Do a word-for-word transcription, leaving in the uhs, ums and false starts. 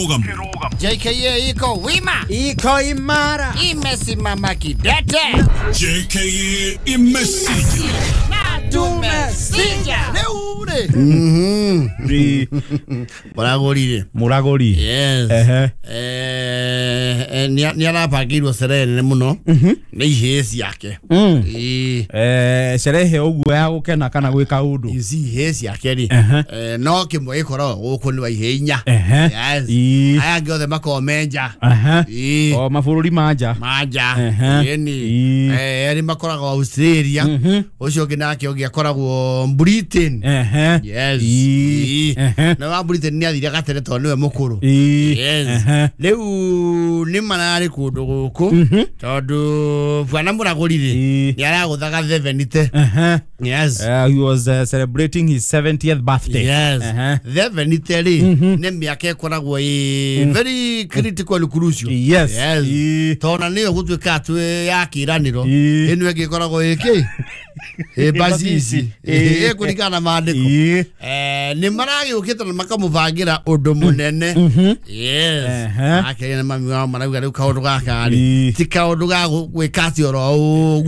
Kĩrũgamo. J K A iko wima, iko imara, imesimama kidete. J K A imesija. Tumesija. Rĩu rĩ Mũragũrire. Mũragũri. Yes. Ehe. Eh, eh, nĩ arabangĩirwo cerehe nene mũno nĩ ihĩĩ ciake. Mm. Ĩĩ. Eh, sherehe ũguo ya gũkena kana gwĩka ũndũ? You see, ihĩĩ ciake rĩ, Ehe. eh, no kĩmwe gĩkoragwo gũkũ, nĩ wa ihĩĩ inya. Ehe. Yes. Ĩĩ. Aya angĩ othe makoragwo me nja. Ehe. Ĩĩ. O mabũrũri ma nja. Manja. Ehe. Ĩni. Ĩĩ. Eh, erĩ makoragwo Australia, ũcio ũngĩ nake ũngĩ akoragwo Britain. Ehe. Yes. Ĩĩ. Ĩĩ. Ehe. Na wa Britain nĩ athire gatene tondũ nĩwe mũkũrũ. Ĩĩ. Yes. Ehe. Rĩu nĩ mararĩ kũndũ gũkũ tondũ bwana mũragũri rĩ, Ĩĩ. nĩ aragũthaga seventy. Ehe. Yes. Uh, he was uh, celebrating his seventieth birthday. Yes. Ehe. Seventy rĩ, nĩ mĩaka ĩkoragwo ĩ very critical, crucial. Yes. Yes. Ĩĩ. Tondũ nĩyo gũtuĩka atĩ ya kĩranĩro Ĩĩ. ĩno ĩngĩ ĩkoragwo ĩkĩ ĩ bacici. Ĩĩ. Ĩkũringana na maandĩko. Ĩĩ. Eh, nĩ maragĩũkĩte na makamũbangĩra ũndũ mũnene. Yes. Ehe. Akeria na mami wao marauga rĩu kaũndũ gaka rĩ, Ĩĩ. ti kaũndũ ga gwĩka atĩ oro ũguo.